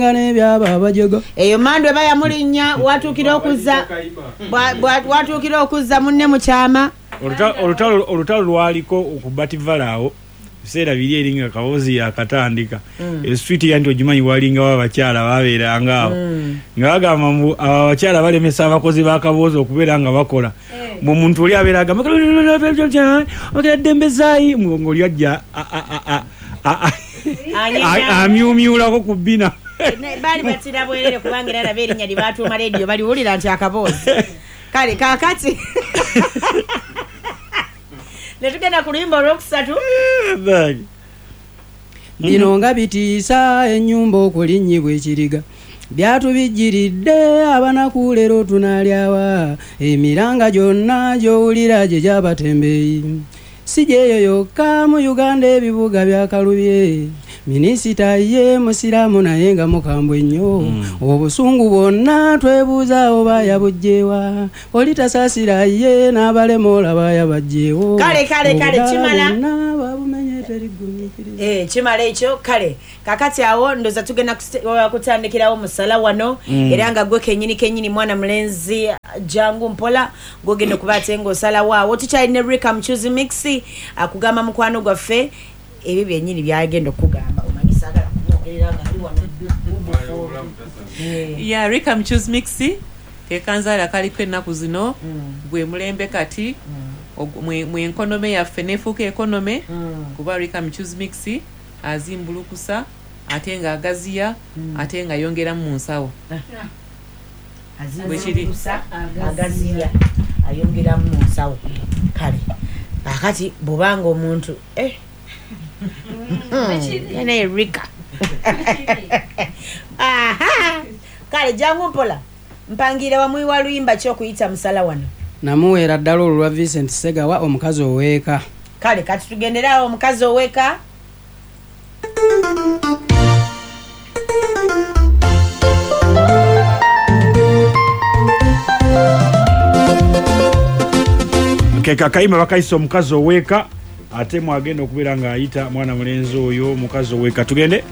N'ebyaba abajega. Eyo mandu eba yamulinnya watuukira okuzza watuukira okuzza munne mu kyama. Olutalo lwaliko okubativala awo biseera biri eri nga Kabozi yakatandika. Eswiti ya nti ogimanyi, walingawo abakyala babeeranga awo nga bagamba mbu abo abakyala balemesa abakozi ba Kaboozi okubeera nga bakola, mbu omuntu oli abeera agamba ddembezaayi ng'oli ajja amyumyulako ku bbina. Baali batira bwerere, kubanga era nabo erinnya lye batuuma leediyo baliwulira nti Akaboozi. Kale kaakati ne tugenda ku luyimba olwokusatu. Bino nga bitiisa, ennyumba okulinnyibwa ekiriga byatubijjiridde abanaku. Leero tunaalyawa? Emiranga gyonna gy'owulira gye gyabatembeeyi, si gyeyo yokka mu Uganda. Ebibuga byakalubye. Minisita ye musiraamu naye nga mukambwe nnyo. Obusungu bwonna twebuuza oba yabugjewa. Oli tasaasira ye n'abalema olaba yabajjeewo. Kale, kale, kale, Obudaala kimala. bwonna babumenye, terigumiikiriza. Kimala ekyo. Kale kakati awo ndoza tugenda kutandikirawo musala wano. Era nga gwe kenyini kenyini, mwana mulenzi, jangu mpola, gwogenda okuba ate ngaosalawo. Awo tukyalina Rika Muchuzi Mix akugamba mukwano gwaffe ebyo byenyini byagenda okugamba. Omanyi saagala kumwogerera nga ali wano. Ya, Rika Muchuzi Mix kekanzaala kaliko ennaku zino. Gwe mulembe kati mwe economy yaffe nefuuka economy, kuba Rika Muchuzi Mix azimbulukusa ate ng'agaziya ate nga yongeramu mu nsawo. Bwe kiri. Azimbulukusa, agaziya, ayongeramu mu nsawo. Kale akati bwobanga omuntu naye Rika. Aha. Kale jangu mpola, mpangira wamuyiwa luyimba ki okuyita musala wano? Namuweera ddala olwo lwa Vincent Segawa, Omukazi Oweeka. Kale kati tugenderawo Omukazi Oweka. Ke kakayimba bakayisa Omukazi Oweeka, ate mwagenda okubeera ng'ayita mwana mulenzi oyo Omukazi Oweeka. Tugende.